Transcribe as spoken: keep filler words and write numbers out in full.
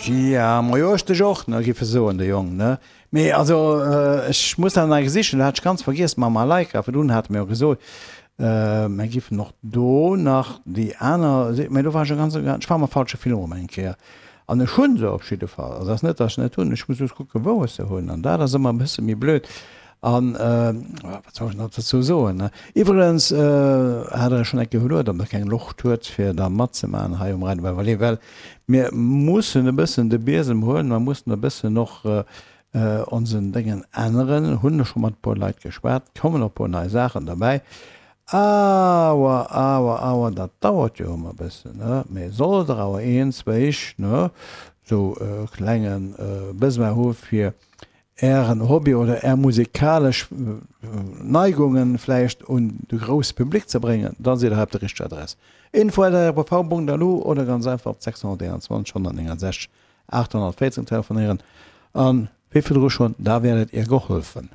Ja, majo, ech dech och, ne, géif e soen, de Jong, ne. Mee also, ech muss dat nach sichen, dat hat ech ganz vergiess mam Malaika. Virdrun hate mir jo gesot, mir giffen och do nach déi aner, mee do war ech e ganz, ech war am falsche Film erëm eng Kéier. An ech hu se op jidde Fall, also ass net, datt ech se net hunn, ech muss just kucken, wou ech se hunn, an dat ass ëmmer e bësse méi blöd. An wat soll ech nach dozou soen, ne? Iwwregens hat Der schonn eng Kéier geluet, ob Der keng Loscht huet, fir da matzemaachen hei um Radio Beverly, well mir mussen e bëssen de Biesem huelen, mer mussen e bëssen och onsen Déngen änneren. Hunn ech scho mat e puer Leit geschwat, kommen och e puer nei Saachen derbäi. Awer, awer, awer, dat dauert jo ëmmer e bëssen, ne? Mee sollt Der awer een, zwéi, ne, sou e klenge Besoin hu fir Ären Hobby oder Är musikalesch Neigungen vläicht un de grousse Public ze bréngen, da sidd Der hei op der richteger Adress. Info at rpv.lu oder ganz einfach op sechshonnerteenanzwanzeg honnertnéngensechzeg achthonnertvéierzehn telefonéieren an, wéi virdru schonn, da werdet Ihr geholfen.